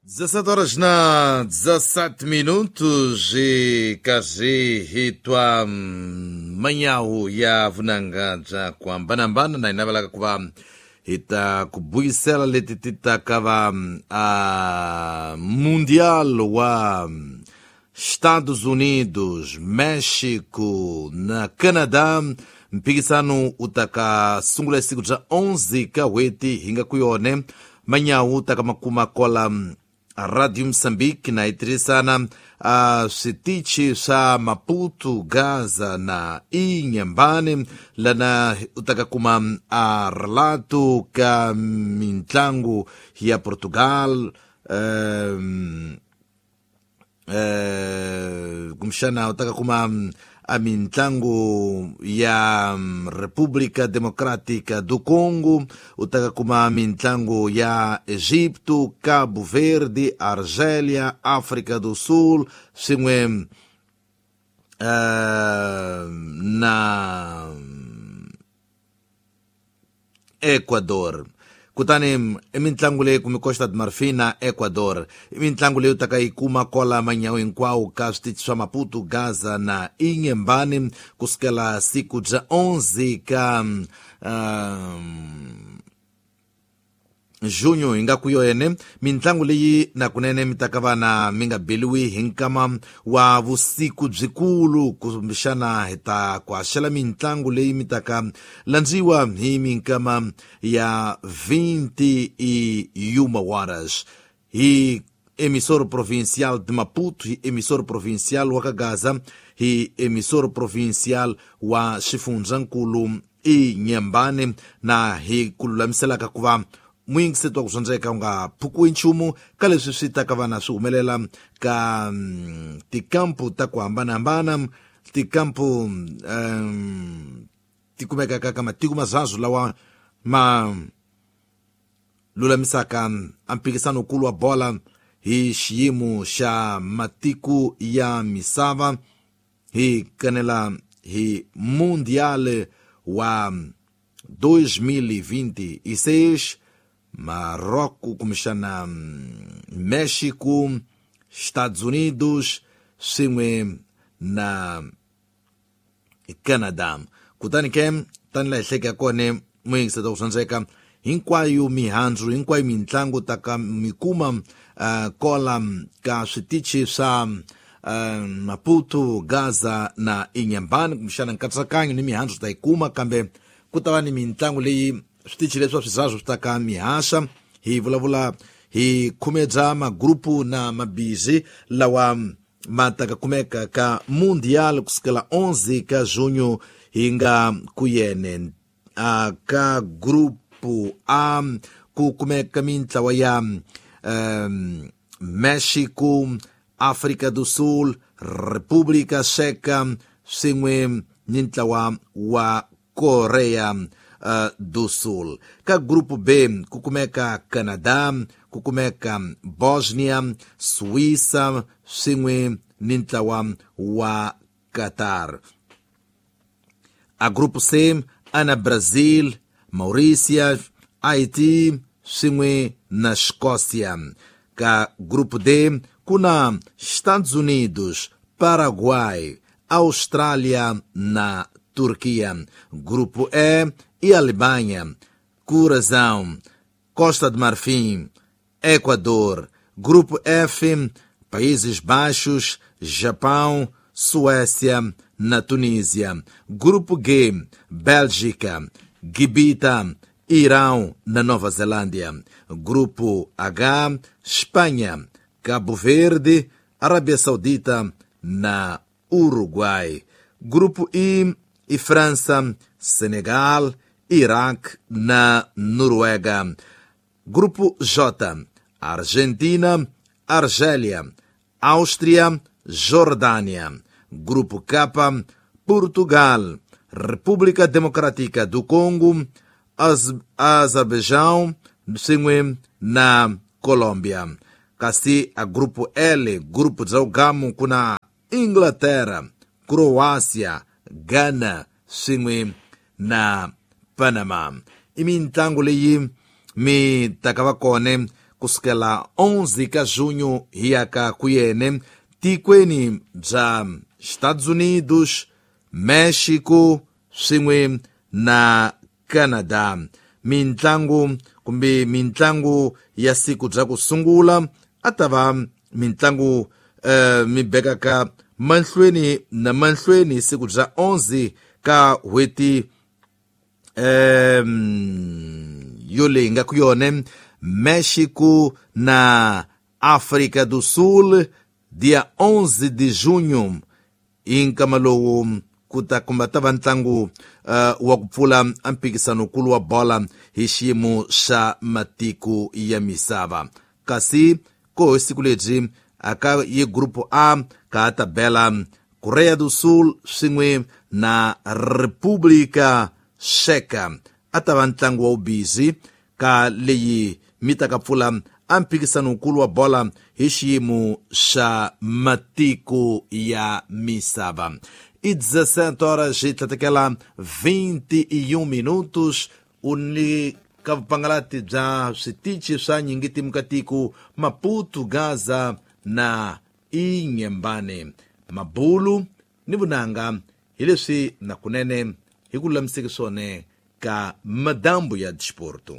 17 horas na 17 minutos e kazi hitwa manyawu ya vunanga bya ku hambanahambana na hina ku va hi ta ku buyisela leti ti ta ka va a Mundial wa Estados Unidos, México na Canadá. Mphikisano u ta ka sungula siku bya 11 ka n'hweti hi nga ku yone manyawu ta ka makuma kwala Radio Moçambique na yi tirhisana a switichi swa Maputo, Gaza na Inhambane lana u ta ka kuma a relato ka mintlangu ya Portugal, kumbexana u ta ka kuma a mintlangu ya República Democrática do Congo, u ta ka kuma mintlangu ya Egipto, Cabo Verde, Argélia, África do Sul, swin'we na Ecuador. Kutani i mintlangu leyi kumi Costa de Marfin na Ecuador, i mintlangu leyi u taka yi kuma kwala manyawu hinkwawo ka switichi swa Maputo, Gaza na Inhambane kusukela siku bya 11 ka junho hi nga ku yone. Mintlangu leyi nakunene mi ta ka vana mi nga beliwi hi nkama wa vusiku byikulu, kumbexana hi ta ku haxela mintlangu leyi mi ta ka landziwa hi minkama ya 21 horas hi emissor provincial de Maputo, hi emissor provincial wa ka Gaza, hi emissor provincial wa xifundzankulu Inhambane, na hi ku lulamiselaka ku va muyingiseti wa ku dyondzeka u nga phukiwi nchumu ka leswi swi ta ka vana swi humelela ka tikampu ta ku hambanahambana, tikampu ti kumekaka ka matiko mazazu lawa ma lulamisaka a mphikisano wukulu wa bola hi xiyimo xa matiko ya misava, hi kanela hi Mundial wa 2026, Marrocos, kumbexana México, Estados Unidos swin'we na Canada. Kutani ke tani laha hi hleketa kona muyingiseta ku dyondzeka hinkwayo mihandzu hinkwayo mintlangu ta ka mi kuma kola ka switichi swa Maputo, Gaza na Inhambane, kumbexana nkatsakanyo ni mihandzu ta yi kuma, kambe ku ta va ni mintlangu leyi switichi leswi swa swi ta ka mihaxa. Hi vulavula hi khumedza magrupu na mabizi lawa ma ta ka kumeka ka Mundial kusukela 11 ka junho hi nga ku yene. Ka grupu A ku kumeka mintlawa ya México, África do Sul, República Checa swin'we ni ntlawa wa Korea do Sul. Ka grupo B ku kumeka Canadá, ku kumeka Bosnia, Suíça swin'we ni ntlawa wa Qatar. A grupo C ana Brazil, Maurícia, Haiti swin'we na Escócia. Ka grupo D ku na Estados Unidos, Paraguai, Austrália na Turquia. Grupo E e Alemanha, Curazão, Costa de Marfim, Equador. Grupo F, Países Baixos, Japão, Suécia na Tunísia. Grupo G, Bélgica, Gibita, Irão na Nova Zelândia. Grupo H, Espanha, Cabo Verde, Arábia Saudita na Uruguai. Grupo I e França, Senegal, Iraque na Noruega. Grupo J, Argentina, Argélia, Áustria, Jordânia. Grupo K, Portugal, República Democrática do Congo, Azerbaijão, swin'we na Colômbia. Kasi a grupo L, grupo bya ugamu, ku na Inglaterra, Croácia, Ghana swin'we na Panama. I mintlangu leyi mi ta ka va kona kusukela 11 ka junho hi ya ka kuyene tikweni bya Estados Unidos, Mexico swin'we na Canada. Mintlangu kumbe mintlangu ya siku bya ku sungula a ta va mintlangu mi bekaka mahlweni na mahlweni siku bya 11 ka hweti yo leyi nga ku yone Mexico na África do Sul dia 11 de junho i nkama lowu ku ta kumba ta va ntlangu wa ku pfula mphikizano-nkulu wa bola hi xiyimo xa matiko ya misava. Kasi ko hi siku lebyi aka ye grupo A ka ta bela Korea do Sul swin'we na República Checa a ta va ntlangu wa vubizi ka leyi mi ta ka pfula a mphikizano-nkulu wa bola hi xiyimo xa matiko ya misava. I 17 horas e tlatekela 21 minutos u ni ka vupangalati bya switichi swa nyingitimu ka tiko Maputo, Gaza na Inhambane, Mabulu ni vunanga hi leswi na kunene hi ku lulamiseke swona ka madambu ya disporto.